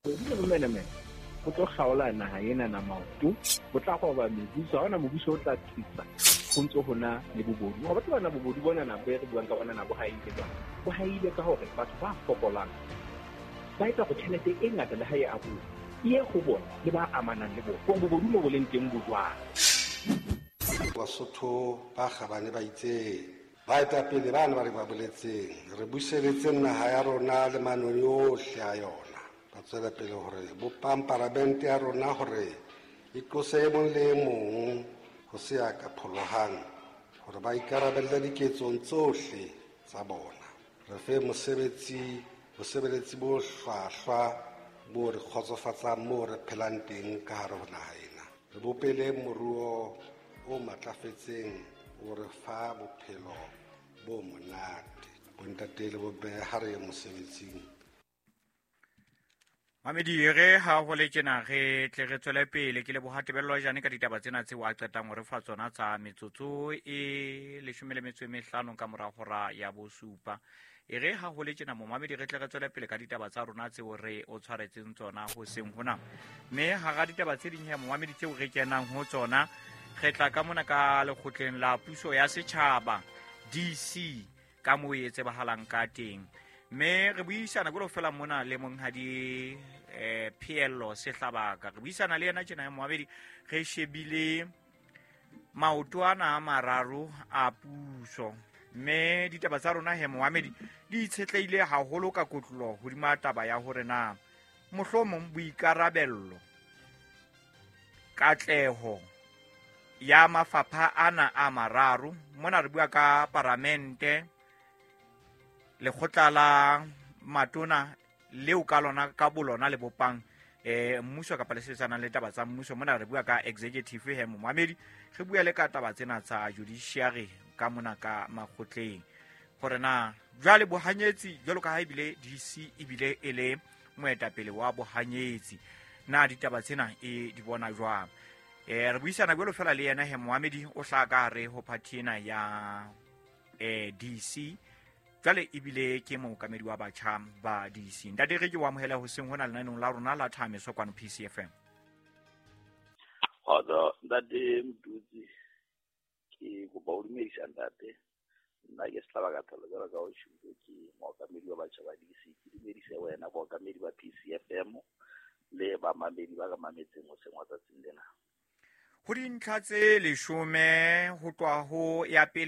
Bobodu le bomenemene bo tlo kgaola naha ena na maoto, bo tla roba mebuso. Ha hona mobuso o tla tsitsa ho ntso ho na le bobodu. Wa tseba na bobodu bona na be re buang ka bona na bo haile jwang? Bo haile ka hore batho ba fokolang ba etsa hore tjhelete e ngata le ha e abuwa e ye ho bona le ba amanang le bona. Hore bobodu mo bo leng teng bo jwang. Basotho ba kgabane ba itse baetapele bana ba re ba boletseng re buseletseng naha ya rona le manoni ohle a yona. Ba tswela pele hore bopang paramente ya rona hore e qose e mong le e mong ho se ya ka pholohang hore ba ikarabelle diketsong tsohle tsa bona. Re fe mosebetsi bosebeletsi bo hlwahlwa bo re kgotsofatsang moo re phelang teng ka hare ho naha ena. Re bopele moruo o matlafetseng o re fa bophelo bo monate. Bontate le bomme ha re ye mosebetsing. Mamedi re ha ho le tjena re tle re tswele pele ke leboha Tebello Jane ka ditaba tsena tseo a qetang ho re fa tsona tsa metsotso e 15 ka mora hora ya bosupa. E re ha ho le tjena momamedi re tle re tswele pele ka ditaba tsa rona tseo re o tshwaretseng tsona ho seng hona. Mme hara ditaba tse ding he momamedi tseo re kenang ho tsona re tla ka mona ka lekgotleng la puso ya setjhaba DC ka moo e tsebahalang ka teng. Mme re buisana jwalo fela mona le monghadi Pheello Sehlabaka. Re buisana le yena tjena ya moabedi re shebile maoto ana a mararo a puso. Mme ditaba tsa rona he moamedi di itshetlehile haholo ka kotlolo hodima taba ya hore na mohlomong boikarabello katleho ya mafapha ana a mararo mona re bua ka paramente lekgotla la matona leo ka lona ka bolona le bopang mmuso kapa le sebetsanang le taba tsa mmuso. Mona re bua ka executive he momamedi re bua le ka taba tsena tsa judiciary ka mona ka makgotleng hore na jwale bohanyetsi jwalo ka ha ebile DC ebile e le moetapele wa bohanyetsi na ditaba tsena e di bona jwang. Re buisana jwalo fela le yena he moamedi o hlaha ka hare ho party ena ya DC jwale ebile ke mookamedi wa batjha ba DC. Ntate re ke o amohela hoseng hona lenaneng la rona la Thameso kwano PCFM. Kgotso ntate Mdutsi, ke kopa ho dumedisa ntate. Nna ke Sehlabaka Tholo jwalo ka o tjhutlo, ke mookamedi wa batjha ba DC. Ke dumedise wena bookamedi ba PCFM le bamamedi ba ka mametseng hoseng wa tsatsing lena. Ho dintlha tse 10 ho tloha ho ya pele